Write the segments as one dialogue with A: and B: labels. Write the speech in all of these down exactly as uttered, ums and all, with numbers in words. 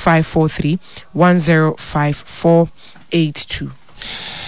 A: five four three one zero five four eight two.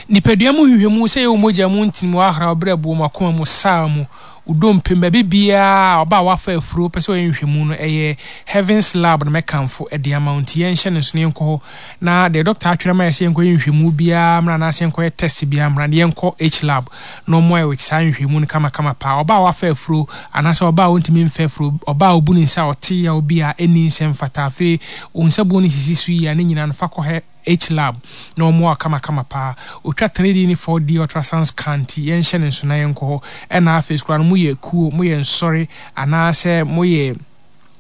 B: Nipadua mu nhwehwɛmu, sɛ ɛyɛ wo mogya mu ntini mu, w'ahraw, berɛboɔ mu, akoma mu, saa mu, wo dompe mu, baabi biara a ɔba a wafa afuro pɛ sɛ ɔyɛ nhwehwɛmu no, ɛyɛ Heavens Lab na mɛkamfo de ama wo. Nti yɛnhyɛ no nso na yɛnkɔ hɔ na deɛ dɔkta atwerɛ ma yɛ sɛ yɛnkɔyɛ nhwehwɛmu biara mmra anaasɛ yɛnkɔyɛ test biara mmra no, yɛnkɔ H Lab na ɔmmoa yɛ with saa nhwehwɛmu no kamakama paa. Ɔba a wafa afuro anaasɛ ɔba a ɔntumi mfa afuro, ɔba a ɔbu ne nsa a ɔte yaw bi a ɛnni nsɛm fata, afei wo nsabuo no sisi so yie a, ne nyinaa no fa kɔ H Lab na ɔmmoa wo kamakama paa. Ɔtwa three D ne four D ultrasound scan nti yɛnhyɛ no nso na yɛnkɔ hɔ. Ɛna afei koraa no moyɛ kuo, moyɛ nsɔre anaasɛ moyɛ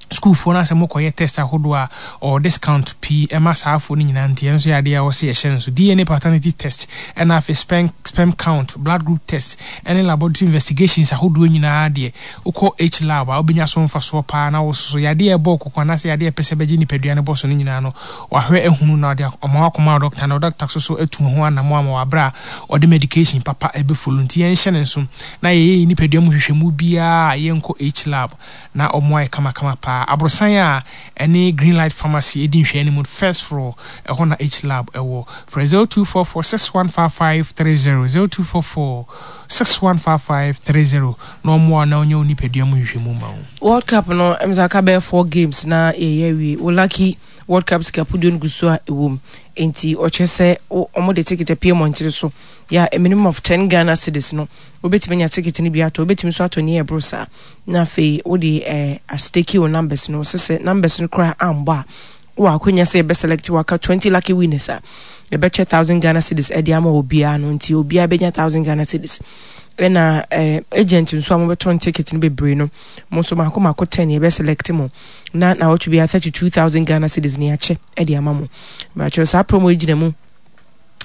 B: sukuufoɔ no asɛ mokɔyɛ test ahodoɔ a, ɔwɔ discount pii ɛma saa afoɔ no nyinaa, nti ɛno nso yɛ adeɛ a ɛwɔ sɛ yɛhyɛ no nso. D N A paternity test ɛna afei sperm, sperm count, blood group test ɛne laboratory investigations ahodoɔ nyinaa deɛ, wokɔ H Lab a wobɛnya so mfasoɔ paa. Na wo soso yadeɛ a ɛbɔ kɔkɔ anaasɛ yadeɛ a ɛpɛ sɛ bɛgye nipadua no bɔ so no nyinaa no, wahwɛ ahunu na ɔde ɔma wakɔma wo doctor na doctor so so atu ho anammɔ ama wabrɛ a ɔde medication papa ɛbɛfollow. Nti yɛnhyɛ ne nso na yɛyɛ nipadua mu hwehwɛmu biara a, yɛnkɔ H Lab na ɔmo ayɛ kamakama paa. Aborosan a ɛne Green Light Pharmacy ɛdi nhwɛ anim, first floor, ɛhɔ na H Lab ɛwɔ. Frɛ zero two four four six one five five three zero, zero two four four six one five five three zero na ɔmo a na ɔnyɛ wo nipadua mu hwehwɛmu ma wo.
A: World Cup no, ɛm sɛ aka bɛyɛ four games na yɛyɛ awie. Wo lucky World Cup sikapuduo no gu so a ɛwɔ mu, nti ɔkyerɛ sɛ ɔmo de ticket apue mmɔntere so yɛ a minimum of ten Ghana cedis no, wobɛtumi anya ticket no bi atɔ. Wobɛtumi nso atɔ ne ɛboro saa na afei wode ɛɛ astake wo numbers no sɛ sɛ numbers no koraa ambɔ a, wowɔ akonya sɛ yɛbɛ select waka twenty lucky winners a yɛbɛkyɛ thousand Ghana cedis ɛde ama obiara no. Nti obiara bɛnya thousand Ghana cedis. Ɛna ɛɛ agent nso a mobɛtɔn ticket no bebree no, mo nso mako mako ten yɛbɛ select mo na na wɔtwe biara thirty two thousand Ghana cedis ne akyɛ ɛde ama mo. Bàtchɛ saa promo yi gyina mu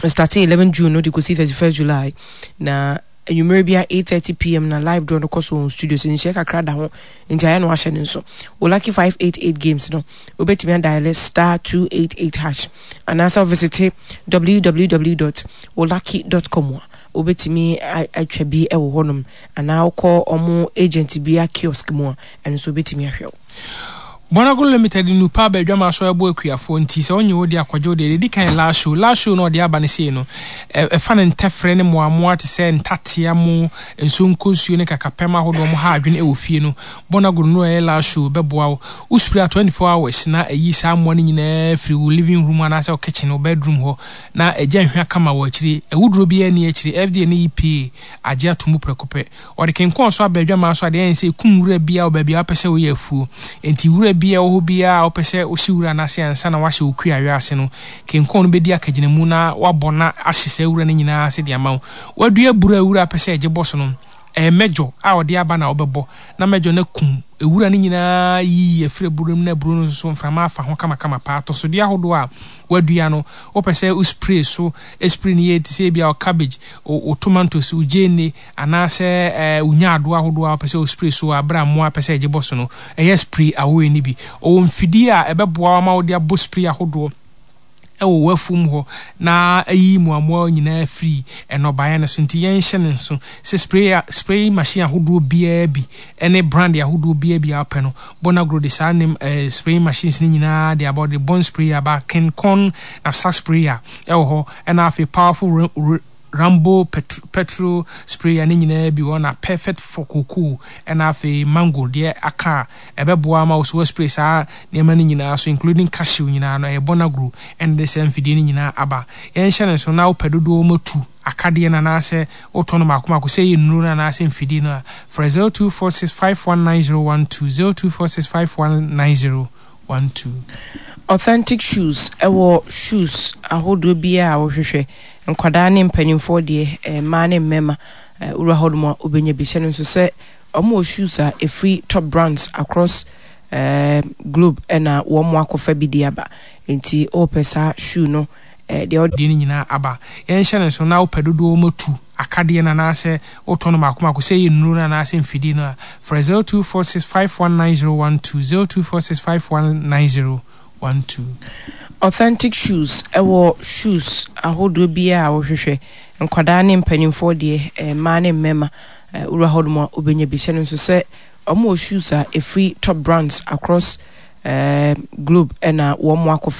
A: starting eleven June no de kɔsi thirty first July, na anwummerɛ bia eight thirty p m na live draw no kɔ so wɔ studio so. Nhyɛ kakra da ho nti ayɛ no wahyɛ ne nso. Wo lucky five eight eight games no, wobɛtumi adial star two eight eight hash anaasɛ wovisit w w w dot wolucky dot com a wobɛtumi atwa bi wɔ hɔnom, anaa wokɔ ɔmo agent bi a kiosk mu a, ɛno nso wobɛtumi ahwɛ wo.
B: Bonago Limited nupa aba adwama so ɛbɔ akuafoɔ, nti sɛ wonye wo de akɔgye wo deɛ, deɛ kan last show last show na ɔde aba no sei no, ɛfa ne ntɛfrɛ ne mmoamoa te sɛ ntatea mu, nsuo nkonsuo ne kakapɛm ahodoɔ mo ha adwene ɛwɔ fie no. Bonago no ɛyɛ last show bɛboa wo. Wo spray a twenty-four hours na ɛyi saa mmoa no nyinaa firi wo living room anaasɛ wo kitchen, wo bedroom hɔ, na ɛgya nhwea kama wɔ akyire. Awuduro biara ni akyire. F D A ne E P A agye ato mu prɛko pɛ. Ɔde kenkɔn so aba adwamaa so adeɛ ɛyɛ sɛ ɛkum wura biara wɔ baabi a wopɛ sɛ woyɛ afuo. Nti wura biara wɔ hɔ biara a wopɛ sɛ wohye wura no ase ansa na wahyɛ wo kuayɔ ase no, kenkɔn no bɛdi akagyinamu na wabɔ na ahye saa wura no nyinaa ase de ama wo. Wadua aburo a wura pɛ sɛ ɛgye bɔ so no, ɛyɛ mɛdwo a ɔde aba na wobɛbɔ na mɛdwo no kum ewura no nyinaa yiyi afiri aburo mu na aburo no nso mframa afa ho kamakama paa. Atɔsodeɛ ahodoɔ a wadua no, wopɛ sɛ wo spray so, spray no yɛ te sɛ ebia wo cabbage, wo tomatoes, wo gyeene anaasɛ ɛɛ wo nyaadoa ahodoɔ a wopɛ sɛ wo spray so a abere a mmoa pɛ sɛ ɛgye bɔ so no, ɛyɛ spray awoe no bi. Ɔwɔ mfidie a ɛbɛboa ama wode abɔ spray ahodoɔ ɛwɔ w'afum hɔ na ayi mmoamoa nyinaa firi nnɔbaeɛ no so. Nti yɛnhyɛ ne nso sɛ spray spray machine ahodoɔ biara bi ɛne brand ahodoɔ biara bi a wopɛ no, Bonagro de saa nem ɛɛ spray machines no nyinaa de aba. Ɔde bɔn spray aba, kenkɔn na sa sprayer ɛwɔ hɔ, ɛna afei powerful Rambo petro, petrol sprayer ne nyinaa bi wɔ, na perfect for cocoa, ɛna afei mango deɛ aka a ɛbɛboa ama wo so spray saa nneɛma no nyinaa so, including cashew nyinaa no. Ɛyɛ Bonagro ɛna de saa mfidie no nyinaa aba. Yɛnhyɛ ne so na wopɛ dodoɔ matu akadeɛ no anaasɛ wotɔ no maako maako, sɛ ɛyɛ nnuro no anaasɛ mfidie no a, frɛ zero two four six five one nine zero one two, zero two four six five one nine zero one two.
A: Authentic Shoes ɛwɔ shoes ahodoɔ biara a wɔhwehwɛ, nkwadaa ne mpanimfoɔ deɛ, mmaa ne mmarima. Wura hɔ nom a wobɛnya bi. Hyɛ no nso sɛ ɔmo wɔ shoes a ɛfiri top brands across uh, globe ɛna wɔn mo akɔfa bi de aba. Nti wɔpɛ saa shoe no deɛ
B: ɔde no nyinaa aba. Yɛnhyɛ no nso na wopɛ dodoɔ matu akadeɛ no anaasɛ wotɔ no maako maako, sɛ ɛyɛ nnuro no anaasɛ mfidie no a, frɛ zero two four six five one nine zero one two, zero two four six five one nine zero one two.
A: Authentic Shoes ɛwɔ shoes ahodoɔ biara a wɔhwehwɛ, nkwadaa ne mpanimfoɔ deɛ, mmaa ne mmarima. Wura hɔ nom a wobɛnya bi. Hyɛ no nso sɛ ɔmo wɔ shoes a ɛfiri top brands across uh, globe ɛna wɔn mo akɔfa.